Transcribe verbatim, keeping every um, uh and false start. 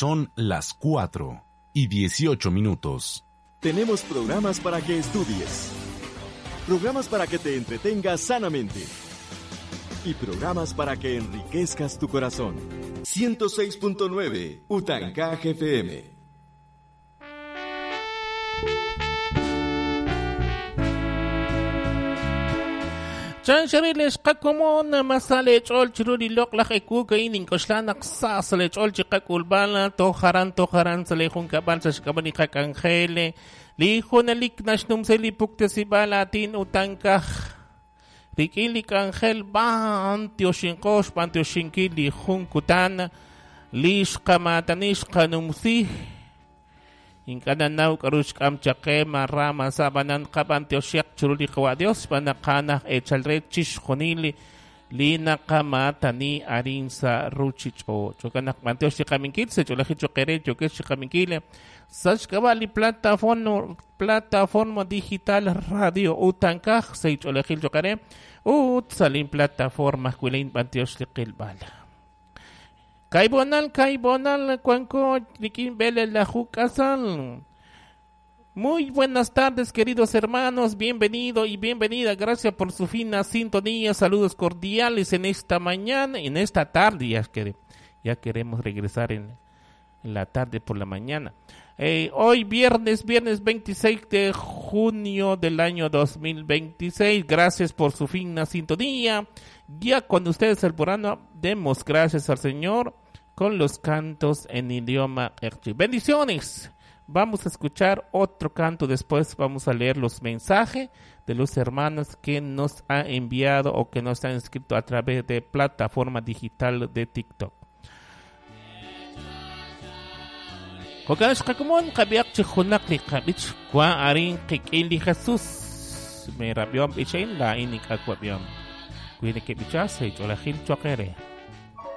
Son las cuatro y dieciocho minutos. Tenemos programas para que estudies, programas para que te entretengas sanamente y programas para que enriquezcas tu corazón. ciento seis punto nueve Utancaj F M. Chanxariles qakomon masale ch'ol chiruli loqlaj ekuka inin koxlanak sasale ch'ol chiqakulbala tojaran tojaran sale junkabal sashkabani qakangele lijunalik nashnumseli puktesibala tin utankaj rikilik angel ban tioshinkox ban tioshinkili junkutan lixqamatanish qanumsi Inkananaw karushkam chaqema rama sabanan qaban tioshiak churuli qawa Dios banaqana echalre chishjonili lina qamatani arinsa ruchicho chokanak mantioshiqaminkil se cholajicho quere choquechiqaminkile sashkabali plataforma plataforma digital radio utankaj se cholajil choqare ut salin plataforma kuilin bantioshliqilbala Kaibonal, Kaibonal, Cuanco, Riquín Vélez, la Jucasal. Muy buenas tardes, queridos hermanos. Bienvenido y bienvenida. Gracias por su fina sintonía. Saludos cordiales en esta mañana, en esta tarde. Ya, quere, ya queremos regresar en, en la tarde por la mañana. Eh, hoy viernes, viernes veintiséis de junio del año dos mil veintiséis. Gracias por su fina sintonía. Ya con ustedes el programa, demos gracias al Señor con los cantos en idioma erchi. Bendiciones. Vamos a escuchar otro canto después. Vamos a leer los mensajes de los hermanos que nos han enviado o que nos han escrito a través de plataforma digital de TikTok. Jokanxqakumon qabiaq chijunaq li qabich kwa arin qik'ili Jesús me rabiom bichain la inik akwabiom. Cuide que bichase, cholajil choquere.